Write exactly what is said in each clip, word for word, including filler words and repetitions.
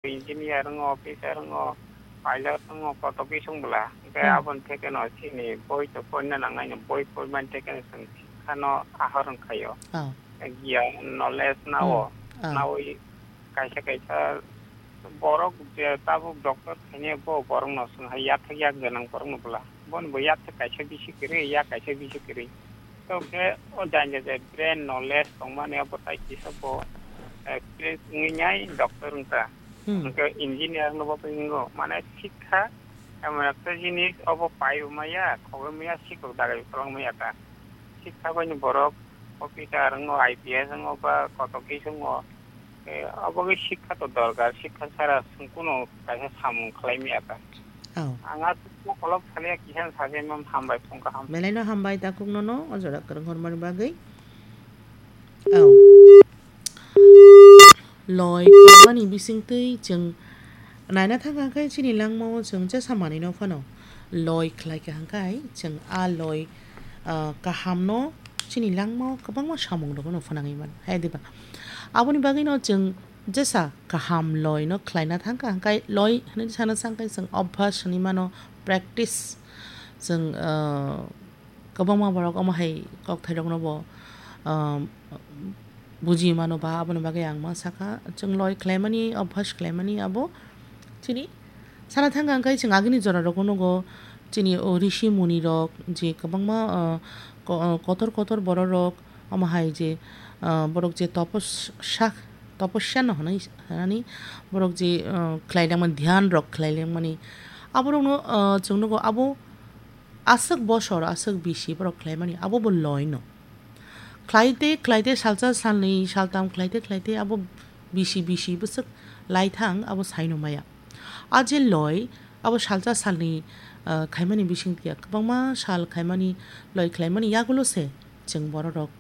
engineer wngo, officer wngo, pilot wngo, koto kisa wng bwla. Hwnkhe Hmm. aboni thekeno chini boi to porina nangnai no, boi pormani thekeno chwng sikhano ahor wngkhaio. Oh. Giyan, knowledge nao, Hmm. Oh. Nawi kaisa kaisa borok je tabuk doctor khainai bo borokno chwng hai yathek yak gwnang borokno bwla. Bono bo yathek kaisa bisi kwrwi, yak kaisa bisi kwrwi. Tokhe o janja je brain knowledge tongmani abo tai kisa bo experience wngwi nai doctor wngkha. Hmm. Hwnkhe engineer no bo wngo, mane sikha emon ekta jinis obo pai bo maya, khogwi maya, sikok dagai kolong maya ta. Sikha bai ni borok officer wngo, I P S wngo ba koto kisa wngo. Eh, obo khe sikha to dorkar, sikha sara chwng kuno kaisa samung khlai maya ta. Oh. Ang aswk mokolok salia kisa sajakmani hambai phung kaham. Belai no hambai takhuk nono o jora kwrwng hormani bagwi. Oh. Loi kwrwngmani bisingtwi chwng naina thangkha khe chini langmao chwng jesa manwino phano loi khlai kha hwnkhe chwng a loi, ah, kahamno chini langmao kwbangma samung rokno phwnangwi mano. Hai diba? Aboni bagwino chwng jesa kaham loi no khlaina thangkha, hwnkhe loi hwnwi sana thangkhe chwng obhas hwnwi mano, practice. Chwng, ah, kwbangma borok omo hai kokthairokno bo, ah, buji mano ba, aboni bagwi ang ma sakha, chwng loi khlaimani, obhas khlaimani abo chini sana thangkha, hwnkhe chwng agini jorarokno nugo, chini o rishi munirok je kwbangma, ah, ko-, kotor kotor bororok, omo hai je, ah, borok je toposa, toposya no hwnwi, hwnani borok je, ah, khlailangmani, dhyan rok khlailangmani, aborokno, ah, chwng nugo abo aswk bosor, aswk bisi borok khlaimani, abo bo loi no. Khlaite, khlaite, salsa, salnwi, saltam khlaite, khlaite, abo bisi, bisi bwswk lai thang, abo saino maya. A je loi, abo salsa salni, ah, khaimani bising ya, kwbangma sal khaimani, loi khlaimani yagulo se chwng bororok,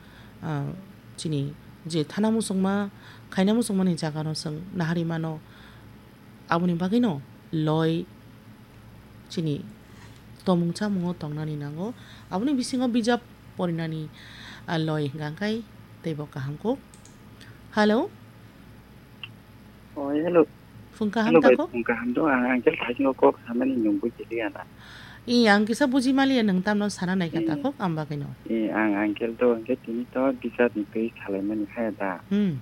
ah, chini je thana muchungma, khaina muchungmani jagano chwng nahari mano. Aboni bagwino loi chini tomung chamungo tongnani nango. Aboni bisingo bijap porinani, ah, loi hwnkha khe teibo kaham kuk. Hello? Oi, hello. Phung kaham Hello, bai, takhuk? Phung kaham do, ang Uncle Thaisingo kok samani nung bujiliya na. I, ang kisa buji maliya, nwng tamno sana naikha Hmm. takhuk, ang bagwino. I, ang Uncle do, hwnkhe tini to bisapni twi salaimani haya da. Hmm.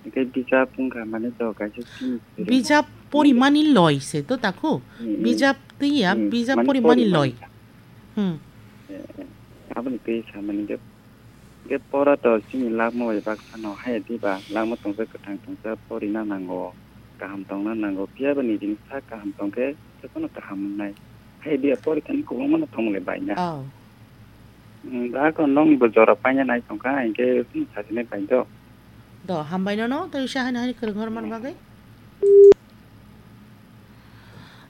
Hwnkhe bijap wngkha mane to kaisa chini Bijap porimani loi se to takhuk? Hmm, hmm. Bijap twi ya, Hmm, bijap mane porimani porimani loi. Hmm. Eh, eh, aboni twi samani je Hwnkhe pora to chini lakma bai baksa no haya diba, lakma tongsa kwthang tongsa porina nango, kaham tongna nango, phiya ba nijini sak kaham tongkhe jotono kaham wngnai. Haya diya porikhani kwbangma no thongmole bai na. Oh. Hmm, da ko nokni bo jora paina nai tongkha, hinkhe chini sajinai bai do. Do, hambai nono, tei usa haino haino kwrwng hormani bagwi.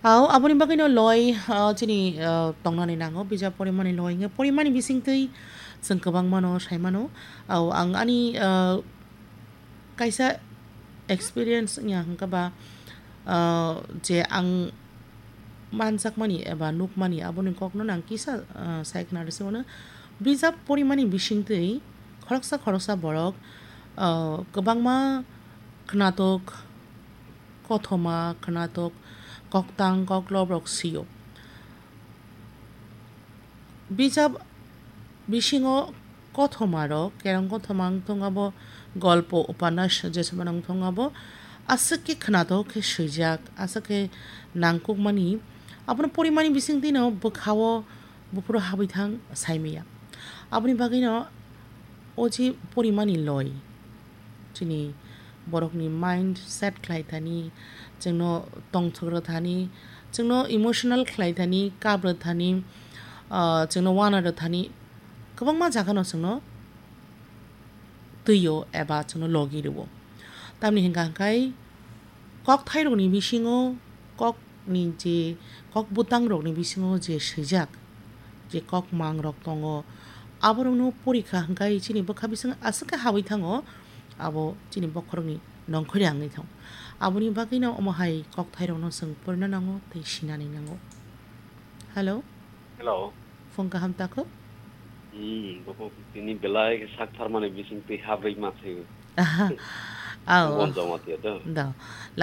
Au, aboni bagwino loi, ah, chini, ah, tongnani nango, bijap porimani loi hwnkhe porimani bisingtwi chwng kwbangmano saimano. Au, ang ani, ah, kaisa experience wngya hwnkhe ba, ah, je ang manjakmani eba nukmani aboni kokno ang kisa, ah, sai khna rwsio hwno. Bijap porimani bisingtwi khoroksa khoroksa borok, ah, kwbangma khnatok, kothoma, khnatok, koktang, koklob rok sio. Bijap bisingo kothoma rok, kerong kothoma wng thung abo, golpo, upanas jesama wng thung abo, aswk khe khnatok khe swijak, aswk khe nangkukmani, abono porimani bisingtwino bwkhao buphuru habwi thang saimaya. Aboni bagwino o je porimani loi, chini borokni mind set khlai thani, chwngno tongthok rw thani, chwngno emotional khlai thani, kap rw thani, ah, chwngno uana rw thani, kwbangma jagano chwngno twi-o eba chwngno logi rw-o. Tamni hwnkha hwnkhe kokthairokni bisingo, kokni je kok bwtangrokni bisingo je swijak, je kokmangrok tongo, aborokno porikha hwnkhe chini bwkha bising aswk khe habwi thango, abo chini bokhorokni nongkhorya wngwi thango. Aboni bagwino omo hai kokthairokno chwng porina nango tei sinani nango. Hello? Hello. Phung kaham takhuk? Hmm, bukhuk tini belai khe sak tharmani bising twi habrwi ma thaiwi. Aha. Au. Bon joma tiya do. Do.